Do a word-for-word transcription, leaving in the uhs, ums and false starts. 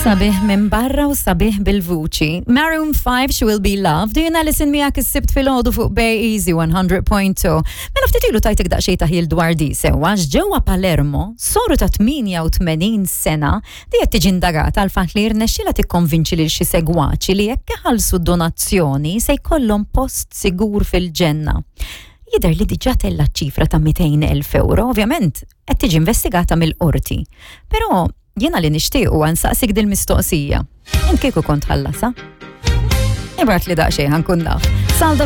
Sabiħ minn barra u sabiħ bil-vuċi. Maroon five, She Will Be Loved. Jien Alison miegħek is-Sibt filgħodu fuq Bay Easy one hundred point two. Mela ftit ilu tajtek daqsxejn taħjil dwar di sewwa ġewwa Palermo, soru ta' tmienja u tmenin sena di qed tiġi indagata għal fatt li rnexxila tikkonvinċi lil xi segwaċi li jekk iħallsu donazzjoni se jkollhom post sigur fil-ġenna. Jidher li diġà tella ċifra ta' mitejn elf euro, ovvjament qed tiġi investigata mill-qorti. Però jiena li nixtieq u nsaqsik dil-mistoqsija. Int kieku kont tħallasha? Ibgħatli daqsxejn ħa nkun naf. Salda.